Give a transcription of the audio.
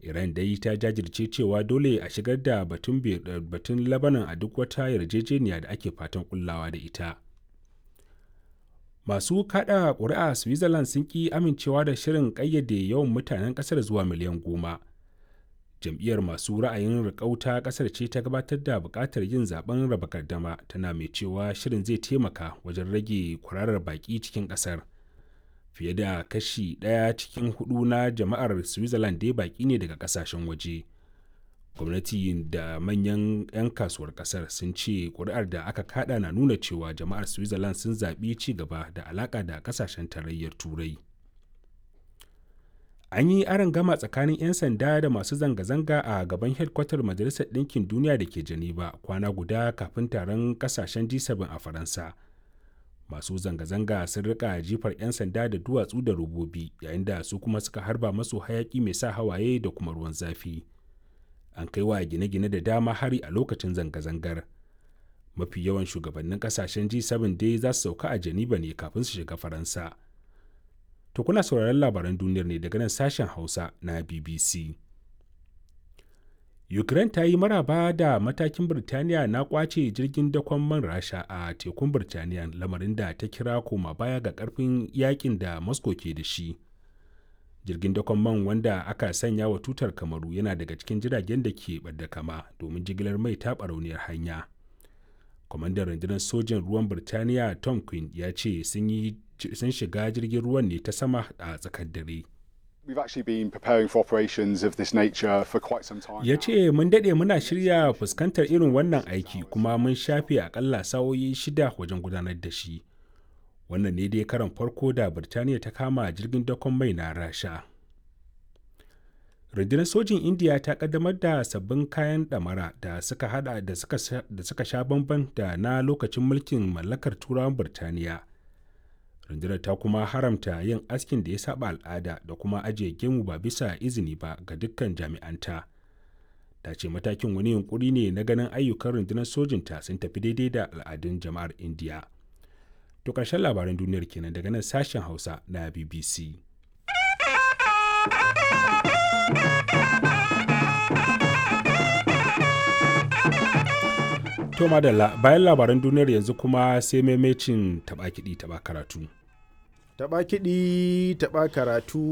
Iran dai ta jajirce cewa dole a shigar da batun Lebanon a duk wata yarjejeniya da ake fatan kullawa da ita. Masu kada ƙuri'a Switzerland sun ki amincewa da shirin ƙayyade yawan mutanen ƙasar zuwa miliyan 10. Jam'iyyar masu ra'ayin riƙau ta ƙasar ce ta gabatar da buƙatar yin zaben raba gardama, tana mai cewa shirin zai taimaka wajen rage kwararar baƙi cikin ƙasar. Fiye da kashi ɗaya cikin hudu na jama'ar Switzerland dai baƙi ne daga ƙasashen waje. Gwamnati da manyan 'yan kasuwar ƙasar sun ce ƙuri'ar da aka kada na nuna cewa jama'ar Switzerland sun zaɓi ci gaba da alaƙa da ƙasashen Tarayyar Turai. An yi gama tsakanin 'yan sanda da masu zanga-zanga a gaban hedkwatar Majalisar Ɗinkin Duniya da ke Geneva, kwana guda kafin taron ƙasashen G7 a Faransa. Masu zanga-zanga sun rika jifar 'yan sanda da duwatsu da robobi, yayin da su kuma suka harba masu hayaki mai sa hawaye da kuma ruwan zafi. An kai wa gine-gine da dama hari a lokacin zanga-zangar. Mafi yawan shugabannin kasashen G7 dai za su sauka a Geneva ne kafin su shiga Faransa. To, kuna sauraron labaran duniyar ne daga nan sashen Hausa na BBC. Ukraine ta yi maraba da matakin Birtaniya na kwace jirgin dakon man Rasha a tekun Birtaniya, lamarin da ta kira koma baya ga karfin yakin da Moscow ke da shi. Jirgin dakon man wanda aka sanya wa tutar Kamaru yana daga cikin jiragen da ke ɓadda kama domin jigilar mai ta barauniyar hanya. Kwamandan rundunar sojin ruwan Birtaniya Tom Quinn ya ce sun shiga jirgin ruwan ne ta sama a tsakar dare. Ya ce, "Mun daɗe muna shirya fuskantar irin wannan aiki, kuma mun shafe akalla sa'o'i 6 wajen gudanar da shi." Wannan ne dai karon farko da Birtaniya ta kama jirgin dakon mai na Rasha. Rundunar sojin Indiya ta kaddamar da sabbin kayan ɗamara da suka hada da suka sha bamban da na lokacin mulkin mallakar Turawan Birtaniya. Rundunar ta kuma haramta yin askin da ya saba al'ada da kuma ajiye gemu ba bisa izini ba ga dukkan jami'anta. Ta ce matakin wani yunkuri ne na ganin ayyukan rundunar sojinta sun tafi daidai da al'adun jama'ar Indiya. To, ƙarshen labaran duniyar kenan daga nan sashen Hausa na BBC. To madalla, bayan labaran duniyar yanzu kuma sai maimacin taɓa kiɗi taɓa karatu. Taɓa kiɗi taɓa karatu.